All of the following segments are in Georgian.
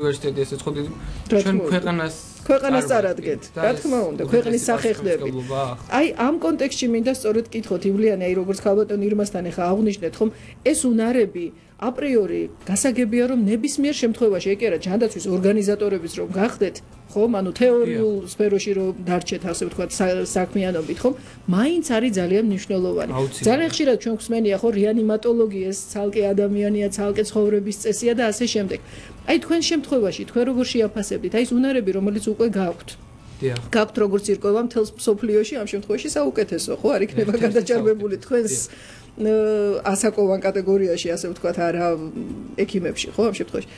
უნივერსიტეტი ესეც ხო ჩვენ ქვეყანას წარადგენთ. რა თქმა უნდა, ქვეყნის სახე ხდებით. აი ამ კონტექსტში მინდა სწორედ კითხოთ ივლიანი, აი როგორც ქალბატონ ირმასთან ახლა აღვნიშნეთ, ხომ ეს უნარები აპრიორი გასაგებია რომ ნებისმიერ შემთხვევაში ეგ არა ჯანდაცვის ორგანიზატორების რომ გახდეთ ხომ ანუ თეორიულ სფეროში რომ დარჩეთ ასე ვთქვათ საქმიანობით ხომ მაინც არის ძალიან მნიშვნელოვანი ძალიან ხშირად ჩვენ გვსმენია ხო რეანიმატოლოგია ცალკე ადამიანია ცალკე ცხოვრების წესია და ასე შემდეგ აი თქვენ შემთხვევაში თქვენ როგორ შეაფასებდით აი ეს უნარები რომელიც უკვე გაქვთ გაქვთ როგორც ირკვევა მთელს სოფლიოში ამ შემთხვევაში საუკეთესო ხო არ იქნება გადაჭარბებული თქვენს ასაკოვან კატეგორიაში ასე ვთქვათ არა ექიმებში ხო ამ შემთხვევაში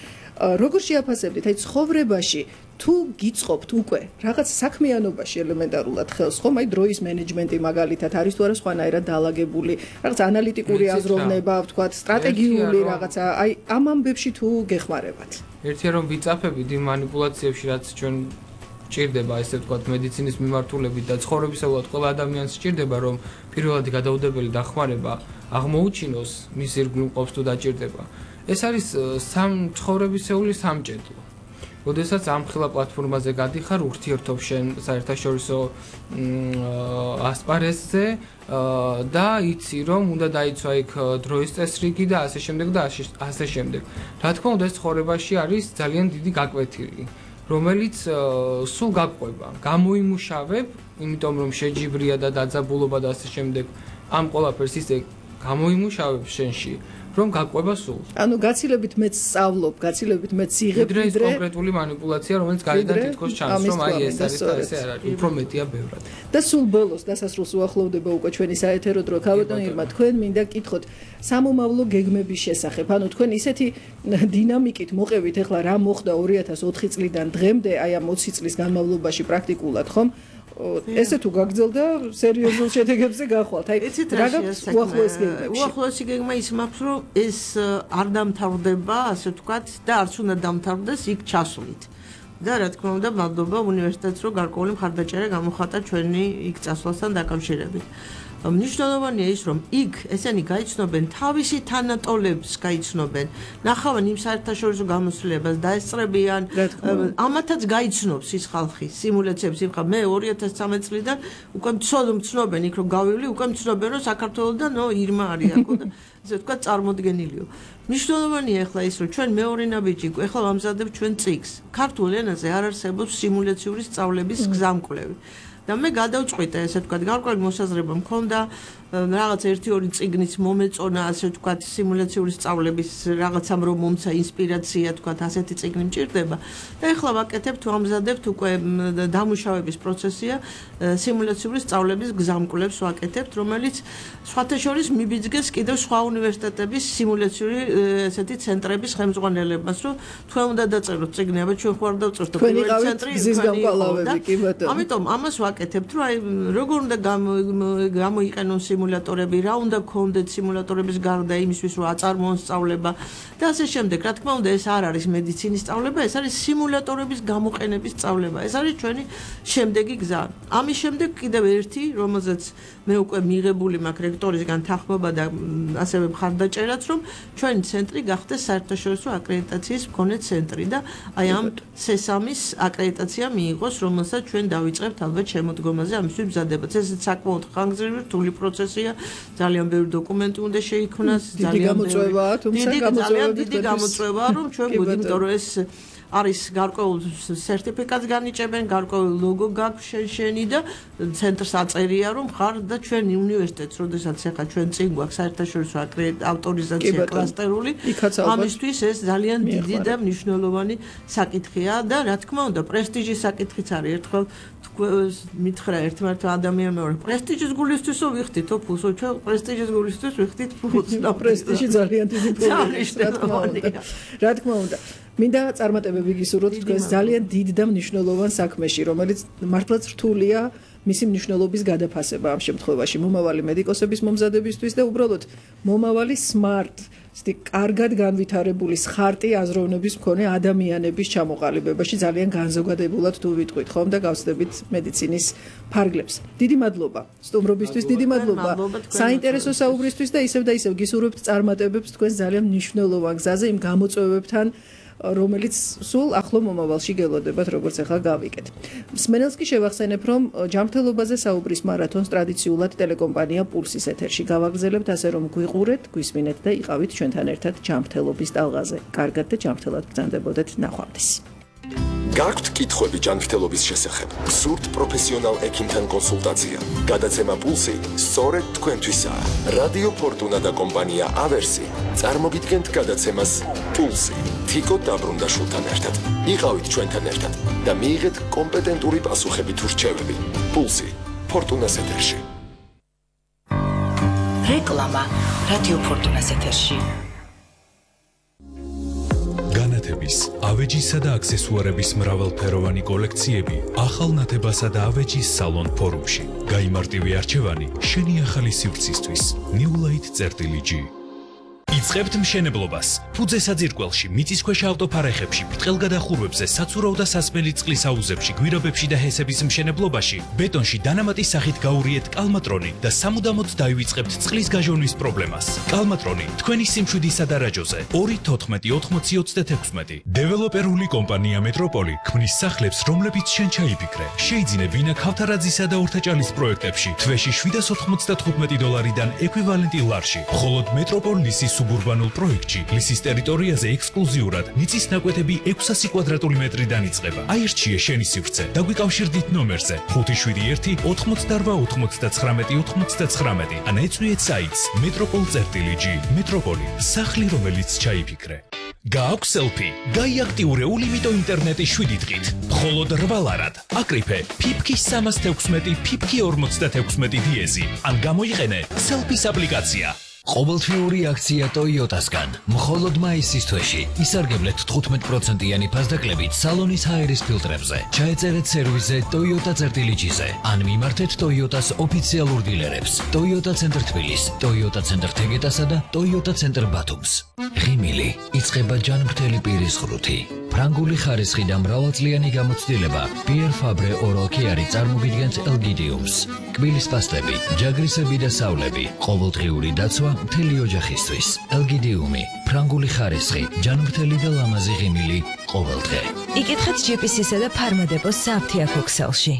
როგორ შეაფასებდით აი ცხოვრებაში თუ გიწყობთ უკვე რაღაც საქმიანობაში ელემენტარულად ხელს ხომ აი დროის მენეჯმენტი მაგალითად არის თუ არა სხვანაირად დაალაგებული რაღაც ანალიტიკური აზროვნება ვთქვათ სტრატეგიული რაღაცა აი ამ ამბებში თუ გეხმარებათ ერთია რომ ვიწაფებით იმ მანიპულაციებში რაც ჩვენ ჭირდება ესე ვთქვათ მედიცინის მიმართულებით და ცხოვრებისეულად ყველა ადამიანს ჭირდება რომ პირველადი გადაუდებელი დახმარება აღმოუჩინოს მის ირგვლივ ყოფს თუ დაჭირდება ეს არის ცხოვრებისეული სამჭედლო როდესაც ამ ხილა პლატფორმაზე გადიხარ ურთიერთობ შენ საერთაშორისო ასპარეზზე და იცი რომ უნდა დაიცვა იქ დროის წესრიგი და ასე შემდეგ და ასე შემდეგ რა თქმა უნდა ეს ცხოვრებაში არის ძალიან დიდი გაკვეთილი რომელიც სულ გაყვება გამოიმუშავებ იმიტომ რომ შეჯიბრია და დაძაბულობა და ასე შემდეგ ამ ყველაფერს ისე გამოიმუშავებ შენში რომ გაყვება სულ ანუ გაცილებით მეც სწავლობ გაცილებით მეც იღებ ვიდრე ეს კონკრეტული მანიპულაცია რომელიც გარედან თითქოს ჩანს რომ აი ეს არის და ესე არ არის უფრო მეტია ბევრად და სულ ბოლოს დასასრულს უახლოვდება უკვე ჩვენი საეთერო დრო ქალბატონ ირმა თქვენ მინდა გითხოთ სამომავლო გეგმების შესახებ ანუ თქვენ ისეთი დინამიკით მოყევით ახლა რა მოხდა 2004 წლიდან დღემდე აი ამ 20 წლის განმავლობაში პრაქტიკულად ხომ ესე თუ გაგრძელდა სერიოზულ შედეგებზე გახვალთ. აი რა გაქვს უახლოესი გეგმებში? უახლოესი გეგმა ის მაქვს, რომ ეს არ დამთავრდება, ასე ვთქვათ, და არც უნდა დამთავრდეს იქ ჩასვლით. და რა თქმა უნდა, მადლობა უნივერსიტეტს, რომ გარკვეული მხარდაჭერა გამოხატა ჩვენი იქ წასვლასთან დაკავშირებით. მნიშვნელოვანია ის რომ იქ ესენი გაიცნობენ თავისი თანატოლებს გაიცნობენ ნახავენ იმ საერთაშორისო გამოცდილებას დაესწრებიან ამათაც გაიცნობს ის ხალხი სიმულაციებს იმ ხალხი მე 2013 წლიდან უკვე მცნობენ იქ რომ გავივლი უკვე მცნობენ რომ საქართველოსდან ირმა არის აქ და ესე ვთქვათ წარმოდგენილიო მნიშვნელოვანია ახლა ის რომ ჩვენ მეორე ნაბიჯი ახლა ვამზადებთ ჩვენ წიგს ქართულ ენაზე არ არსებობს სიმულაციური სწავლების გზამკვლევი და მე გადავწყვიტე ესე ვთქვათ გარკვეული მოსაზრება მქონდა რაღაც 1-2 წიგნის მომეწონა ასე ვთქვათ სიმულაციური სწავლების რაღაცამ რომ მომცა ინსპირაცია ვთქვათ ასეთი წიგნი მჭირდება და ეხლა ვაკეთებთ ვამზადებთ უკვე დამუშავების პროცესია სიმულაციური სწავლების გზამკვლევს ვაკეთებთ რომელიც სხვათა შორის მიბიძგეს კიდევ სხვა უნივერსიტეტების სიმულაციური ესეთი ცენტრების ხელმძღვანელებას რომ თქვენ უნდა დაწეროთ წიგნი აბა ჩვენ ხوار დავწერთ პირველი ცენტრი ამიტომ ამას ვაკეთებთ რომ აი როგორ უნდა გამოიყენონ სიმულატორები, რა უნდა გქონდეთ სიმულატორების გარდა იმისთვის, რომ აწარმოონ სწავლება და ასე შემდეგ. რა თქმა უნდა, ეს არ არის მედიცინის სწავლება, ეს არის სიმულატორების გამოყენების სწავლება. ეს არის ჩვენი შემდეგი გზა. ამის შემდეგ კიდევ ერთი, რომელზეც მე უკვე მიღებული მაქვს რექტორისგან თანხმობა და ასევე მხარდაჭერაც, რომ ჩვენი ცენტრი გახდეს საერთაშორისო აკრედიტაციის მქონე ცენტრი და აი ამ სესამის აკრედიტაცია მიიღოს, რომელსაც ჩვენ დავიწყებთ ალბათ შემოდგომაზე ამისთვის მზადებაც. ეს საკმაოდ ხანგრძლივი რთული პროცესია, ძალიან ბევრი დოკუმენტი უნდა შეიქმნას, ძალიან გამოწვევაა, თუმცა დიდი გამოწვევაა, რომ ჩვენ გვინდა რომ ეს არის გარკვეულ სერტიფიკატს განიჭებენ, გარკვეული ლოგო გაქვს შენი და ცენტრს აწერია რომ ხარ და ჩვენი უნივერსიტეტს, როდესაც ახლა ჩვენ წინ გვაქვს საერთაშორისო ავტორიზაცია კლასტერული, ამისთვის ეს ძალიან დიდი და მნიშვნელოვანი საკითხია და რა თქმა უნდა, პრესტიჟის საკითხიც არის. ერთხელ მითხრა ერთმანეთს ადამიანმა რომ პრესტიჟის გულისთვისო ვიხდითო ფულსო ჩვენ პრესტიჟის გულისთვის ვიხდით ფულს და პრესტიჟი ძალიან დიდი ფულია რა თქმა უნდა მინდა წარმატებები გისურვოთ თქვენს ძალიან დიდ და მნიშვნელოვან საქმეში რომელიც მართლაც რთულია მისი მნიშვნელობის გადაფასება ამ შემთხვევაში მომავალი მედიკოსების მომზადებისთვის და უბრალოდ მომავალი smart კარგად განვითარებული ხარტი აზროვნების მქონე ადამიანების ჩამოყალიბებაში ძალიან განზოგადებულად თუ ვიტყვით ხომ და გავსდებით მედიცინის ფარგლებს. დიდი მადლობა სტუმრობისთვის, დიდი მადლობა საინტერესო საუბრისთვის და ისევ გისურვებთ წარმატებებს თქვენ ძალიან მნიშვნელოვან გზაზე იმ გამოწვევებთან რომელიც სულ ახლო მომავალში გელოდებათ, როგორც ახლა გავიგეთ. მსმენელს კი შევახსენებ, რომ ჯანმრთელობაზე საუბრის მარათონს ტრადიციულად ტელეკომპანია პულსის ეთერში გავაგრძელებთ, ასე რომ გვიყურეთ, გვისმინეთ და იყავით ჩვენთან ერთად ჯანმრთელობის ტალღაზე. კარგად და ჯანმრთელად ბრძანდებოდეთ ნახვამდის. გაქვთ კითხვები ჯანმრთელობის შესახებ? გსურთ პროფესიონალ ექიმთან კონსულტაცია? გადაცემა პულსი სწორედ თქვენთვისაა. რადიო ფორტუნა და კომპანია ავერსი წარმოგიდგენთ გადაცემას პულსი. თიკო დაბრუნდაშვილთან ერთად. იყავით ჩვენთან ერთად და მიიღეთ კომპეტენტური პასუხები თუ რჩევები. პულსი ფორტუნას ეთერში. რეკლამა რადიო ფორტუნას ეთერში. განათების, ავეჯისა და აქსესუარების მრავალფეროვანი კოლექციები ახალ ნათებასა და ავეჯის სალონ ფორუმში. გაიმარტივე არჩევანი შენი ახალი სივრცისთვის. newlight.g იწყებთ მშენებლობას. ფუძე საძირკველში, მიწისქვეშა ავტოფარეხებში, ბრტყელგადახურვებზე, საცურაო და სასმელი წყლის აუზებში, გვირაბებში და ჰესების მშენებლობაში, ბეტონში დანამატის სახით გაურიეთ კალმატრონი და სამუდამოდ დაივიწყებთ წყლის გაჟონვის პრობლემას. კალმატრონი თქვენი სიმშვიდისა და რაჯოზე 2-14-80-36. დეველოპერული კომპანია მეტროპოლი ქმნის სახლებს, რომლებიც შენ ჩაიფიქრე. შეიძინე ბინა ქავთარაძისა და ორთაჭალის პროექტებში თვეში $795-დან ეკვივალენტი ლარში. მხოლოდ მეტროპოლ ლისის სუბურბანულ პროექტში ლისის ტერიტორიაზე ექსკლუზიურად მიწის ნაკვეთები 600 კვადრატული მეტრიდან იწყება. აირჩიე შენი სივრცე და გვიკავშირდით ნომერზე 571-88-99-99 ან ეწვიეთ საიტს metropol.g. მეტროპოლი, სახლი რომელიც ჩაიფიქრე. გააქვს სელფი? გაიაქტიურე ულიმიტო ინტერნეტი 7 დღით. მხოლოდ 8 ლარად. აკრიფე ფიფქი 316, ფიფქი 46 დიეზი. ან გამოიყენე სელფის აპლიკაცია. ყოველთვიური აქცია Toyota-სგან. მხოლოდ მაისის თვეში ისარგებლეთ 15%-იანი ფასდაკლებით სალონის ჰაერის ფილტრებზე. ჩაეწერეთ სერვისზე Toyota.g-ზე ან მიმართეთ Toyota-s ოფიციალურ დილერებს. Toyota ცენტრ თბილისს, Toyota ცენტრ თეგეტასა და Toyota ცენტრ ბათუმს. ღიმილი იწყება ჯანმრთელი პირის ღრუთი. ფრანგული ხარისხი და მრავალწლიანი გამოცდილება Pierre Fabre Oral Care წარმოგიდგენთ ელგიდიუმს. კბილის პასტები, ჯაგრისები და სავლები, ყოველდღიური დაცვა მთელი ოჯახისთვის. ელგიდიუმი, ფრანგული ხარისხი, ჯანმრთელი და ლამაზი ღიმილი ყოველდღე. იკითხეთ GPS-ისა და ფარმადეპოს საფთიაქ ოქსელში.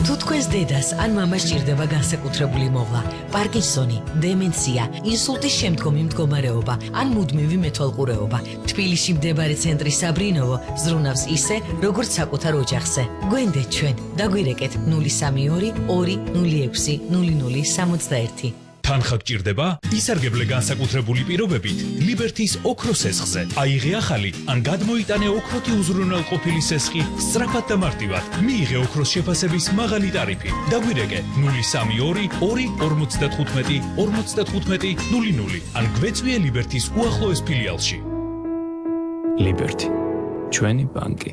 თუ თქვენს დედას ან მამას ჭირდება განსაკუთრებული მოვლა, პარკინსონი, დემენცია, ინსულტის შემდგომი მდგომარეობა ან მუდმივი მეთვალყურეობა, თბილისში მდებარე ცენტრი საბრინოვო ზრუნავს ისე, როგორც საკუთარ ოჯახზე. გვენდეთ ჩვენ, დაგვირეკეთ 032 206 0061. თანხა გჭირდება? ისარგებლე განსაკუთრებული პირობებით ლიბერთის ოქროს სესხზე. აიღე ახალი ან გადმოიტანე ოქროთი უზრუნველყოფილი სესხი სწრაფად და მარტივად. მიიღე ოქროს შეფასების მაღალი ტარიფი. დაგვირეკე 032 255 55 00 ან გვეწვიე ლიბერთის უახლოეს ფილიალში. ლიბერთი, ჩვენი ბანკი.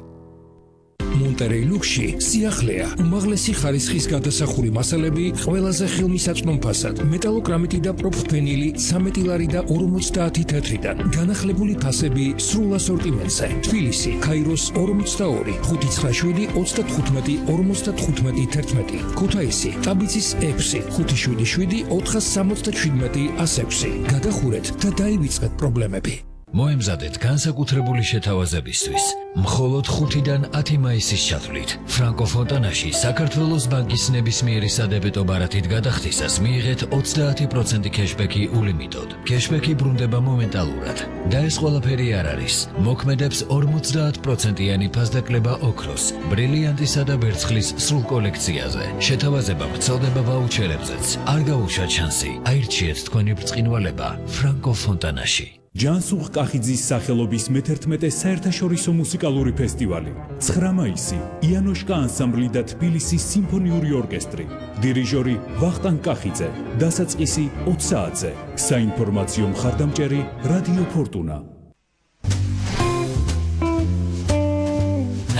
მონტერეი ლუქსში სიახლეა, უმაღლესი ხარისხის გადასახური მასალები ყველაზე ხელმისაწვდომ ფასად, მეტალოკრამიტი და პროფენილი 13 ლარი და 50 თეთრიდან, განახლებული ფასები სრულ ასორტიმენტზე. თბილისი, ქაიროს 42, 597 35 55 11. ქუთაისი, ტაბიცის 6, 577 477 106. გადახურეთ და დაივიწყეთ პრობლემები. მოემზადეთ განსაკუთრებული შეთავაზებისთვის. მხოლოდ 5-დან 10 მაისის ჩათვლით. ფრანკო ფონტანაში საქართველოს ბანკის ნებისმიერი სადებეტო ბარათით გადახდისას მიიღეთ 30% кэშბექი ულიმიტოდ. кэშბექი ბრუნდება მომენტალურად. და ეს ყველაფერი არ არის. მოქმედებს 50%-იანი ფასდაკლება ოქროს, ბრილიანტისა და ვერცხლის სრულ კოლექციაზე. შეთავაზება ვრცელდება ვაუჩერებზეც. არ გაუშვათ შანსი. აირჩიეთ თქვენი ბრწყინვალება ფრანკო ფონტანაში. ჯანსუღ კახიძის სახელობის მე-11 საერთაშორისო მუსიკალური ფესტივალი. 9 მაისი, იანოშკა ანსამბლი და თბილისის სიმფონიური ორკესტრი. დირიჟორი ვახტანგ კახიძე. დასაწყისი 20 საათზე. საინფორმაციო მხარდამჭერი რადიო ფორტუნა.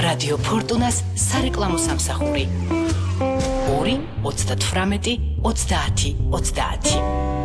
რადიო ფორტუნას სარეკლამო სამსახური 2 38 30 30.